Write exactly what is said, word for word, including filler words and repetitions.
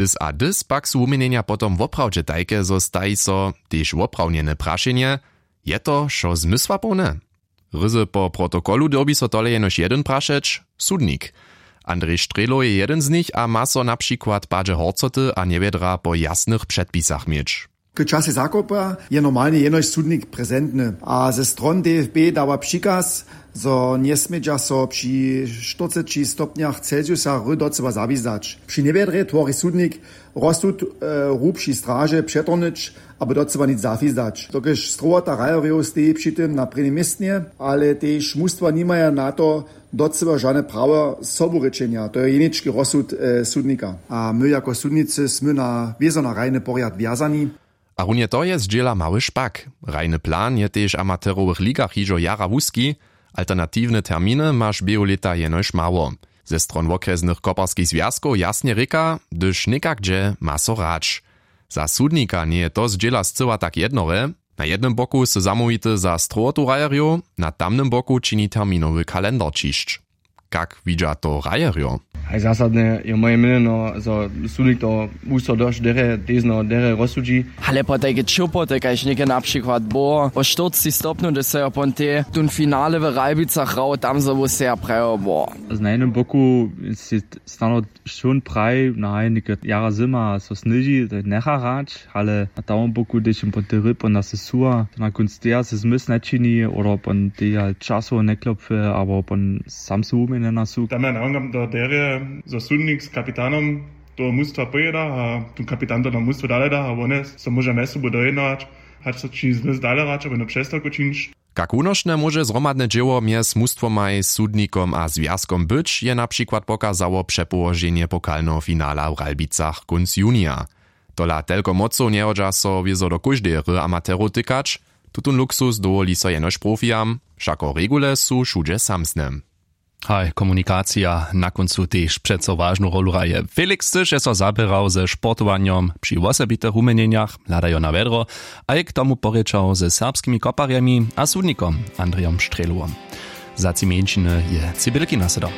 Ys a dys pak su wuměnjenja potom woprawdźe tajke, zo staji so tež woprawnjene prašenje: Je to wšo zmysłapołne? Ryzy po protokolu dyrbi so tole jenož jedyn prašeć: sudnik. Andrej Strělow je jedyn z nich a ma so na přikład padźe horcoty a njewjedra po jasnych předpisach měć. K časej zakopa je normalnje jenož sudnik prezentny a ze stron D F B dawa přikaz, zo njesmědźa so při štyrceći stopnjach Celsiusa ry docyła zawizdać. Při njewjedrje twori sudnik rozsud hrubši straže přetornyć, abo docyła nic zafizdać. Dokelž strowota rajerjow steji při tym na prěnim městnje, ale tež mustwa nimaja na to docyła žane prawo soburěčenja, to je jenički rozsud sudnika. A my jako sudnicy smy na wězo na rajny porjad wjazani. A runje to je zdźěla mały špak. Rajny plan je tež w amaterowych ligach hižo jara wuski. Alternatiwne terminy maš běhu lěta jenož mało. Ze stron wokrjesnych koparskich zwjazkow jasnje rěka, hdyž někak dźe, ma so hrać. Za sudnika njeje to zdźěla scyła tak jednore. Na jednym boku sy zamołwity za strowotu rajerjow, na tamnym boku čini terminowy kalendar ćišć. Kak widźa to rajerjo? Haj zasadne je moje měnjeno, zo sudnik to wuso dosć derje, tezno derje rozsudźi. Ale potajke ćěłpoty kaž něke na přikład było wo štyrcci stopnju, hdyž so jo pon te tón finale w Ralbicach hrał, tam zo wuseja prajo było. Na jednym boku si stano šón praj na hajnike jara zyma so sněži, to njecha hrać. Ale na tamnym boku hdyž jim pon te ryb pon da se suwa, na kónc teja se zmysł načini oder pon teja časowo njeklopfe abo pon sam se wuměnjena su. Tam ja nawongam do derje, zo sudnik z kapitanom toho mustwa pojěda a tón kapitan to na mustwo dale da a wone so móža mjez sobu dojednować, hač so čini zmysł dale hrać abo jednu přestawku činić. Kak wunošne móže zhromadne dźěło mjez mustwomaj, sudnikom a zwjazkom być, je na přikład pokazało přepołoženje pokalneho finala w Ralbicach kónc junija. Tola telko mocow njehodźa so wězo do kóždeje hry amaterow tykać. Tutón luksus dowoli so jenož profijam, wšako regule su wšudźe samsne. Haj, komunikacija na kóncu tež přeco wažnu rolu hraje. Felix chcyš je so zaběrał ze sportowanjom při wosebitych wuměnjenjach, hladajo na wjedro, a je k tomu porěčał ze serbskimi koparjemi a sudnikom Andrejom Strělowom. Za tři mjeńšiny je Cybělki nasedał.